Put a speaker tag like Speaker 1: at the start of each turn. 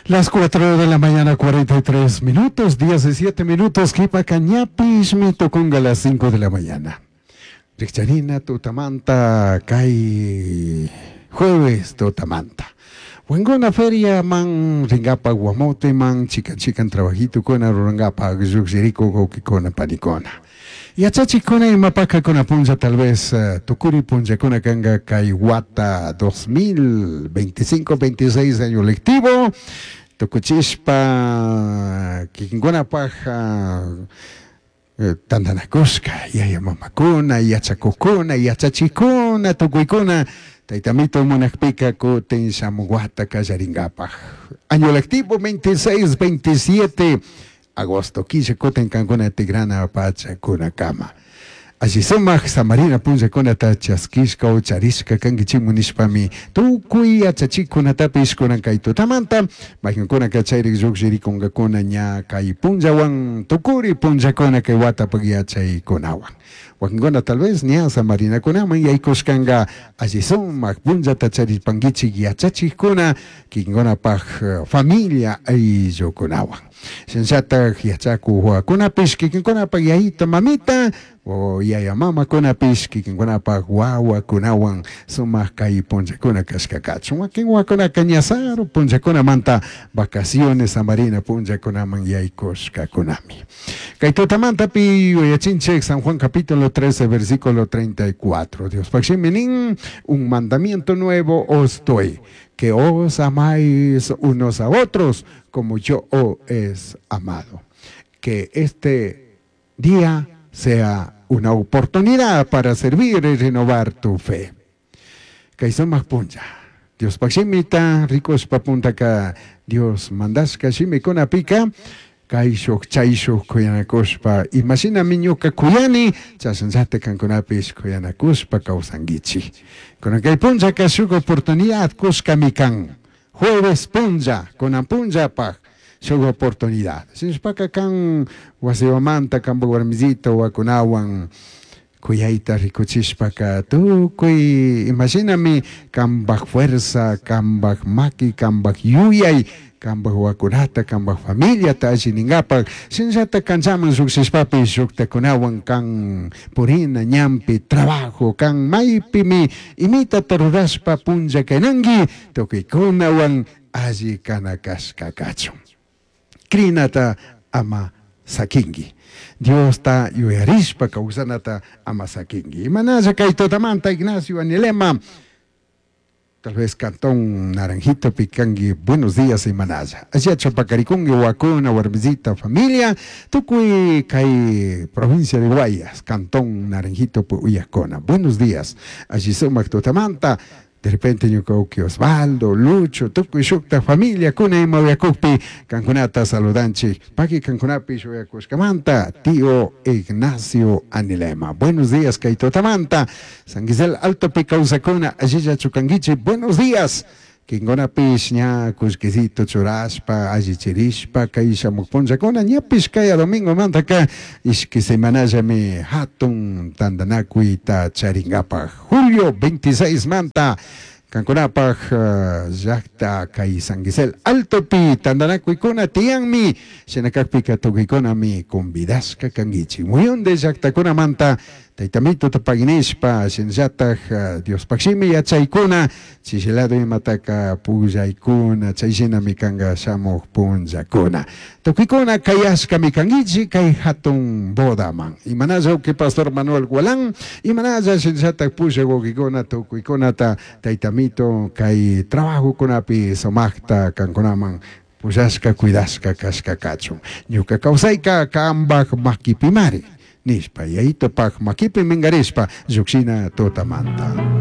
Speaker 1: Las 4 de la mañana, 43 minutos, 17 minutos, jipaca ñapishmi tucunga las 5 de la mañana. Rikcharina tutamanta kay jueves tutamanta. Wankuna feria man ringapa Guamote man chikan chikan trabajitokuna rurangapa llukshirikuk wawkikuna panikuna. Yachachikuna imapakakuna punlla tal vez tukuri punllakuna kanka kay wata 2025-26 año lectivo tukuchishpa kikinkunapak tantanakushka yaya mamakuna yachakukuna yachachikuna tukuykuna taytamito munakpika kutin shamuk wata kallarinkapak año lectivo 26-27 agosto killa kutin kankuna tikrana pachakunakama. Alli sumak samarina punllakunata chaskishka o charishka kankichikmu nishpami tukuy yachachikunatapish kunan kay tutamanta maykankunaka chayrik llukshirikunkakuna ña kay punllawan tukuri punllakuna kay watapak yachaykunawan. Wakinkuna tal vez ña samarinakunaman yaykushkanka alli sumak punllata charishpankichik yachachikkuna kikinkunapak familia ayllukunawan. Shinallatak yachakuk wawakunapish kikinkunapak yayita mamita o yaya mamakunapish kikinkunapak wawakunawan sumak kay punllakuna kashka kachun. Wakin wawakunaka ña saru punllakunamanta vacaciones samarina punllakunaman yaykushkakunami. Kay tutamantapi yuyachinchik San Juan capítulo 13 versículo 34. Diospak shimi nin, un mandamiento nuevo os doy, que os amáis unos a otros como yo os he amado. Que este día sea una oportunidad para servir y renovar tu fe. Kay sumak punlla. Diospak shimita rikushpa puntaka Dios mandashka shimikunapika kayshuk chayshuk kuyanakushpa imashinami ñuka kuyani chashnallata kankunapish kuyanakushpa kawsankichik. Kunan kay punllaka shuk oportunidad kushkami kan. Jueves punlla, kunan punllapak shuk oportunidad. Shinashpaka kan wasiwamanta kanpak warmisito wawakunawan kuyayta rikuchishpaka tukuy imashinami kanpak fuerza, kanpak maki, kanpak yuyay, kanpak wawakunata, kanpak familiata alli ninkapak shinallata kanchaman llukshishpapish shuktakunawan kan purina ñanpi trabajo kan maypimi imitata rurashpa punlla kaynanki tukuykunawan alli kana kashka kachun. Crinata ama sakinki. Diosta yuyarishpa kawsanata ama sakinki. Imanalla kay tutamanta Ignacio Anilema, tal vez Cantón Naranjito pikanki, buenos días imanalla. Ashiacha pakarikunki wakuna, warmisita, familia, tukuy kay provincia de Guayas, Cantón Naranjito uyakuna. Buenos días. Alli sumak tutamanta. De repente ñuka uki Osvaldo, Lucho, tukuy shukta familia kuna ima uyakukpi kankunata saludanchik. Paki kankunapish uyakushkamanta, tío Ignacio Anilema. Buenos días kay tutamanta. San Gisel Altopi kawsakuna allilla chukankichik. Buenos días. Kinkunapish ña kullkisito churashpa, allichirishpa kay shamuk punllakuna ñapish kaya domingomantaka ishki semanallami hatun tantanakuyta charinkapak. Julio 26 manta kankunapak llakta kay San Gisel Altopi tantanakuykuna tiyanmi, shinakakpika tukuykunami convidashka kankichik. Muyunde llaktakunamanta Taytamituta paginishpa, shinallatak Diospaj shimi yachaykuna, chishilado imataka pugllaykuna, chay shinami kanka shamuk punllakuna. Tukuykuna kayashkami kankichik kay hatun bodaman. Imanalla uki Pastor Manuel Gualán, imanalla shinallatak pushak wawkikuna tukuykunata Taytamito kay trabajokunapi sumakta kankunaman pushashka, cuidashka kashka kachun. Ñuka kawsayka kambaj makipimari. Nishpa, yayitopak makipi mingarishpa llukshina tutamanta.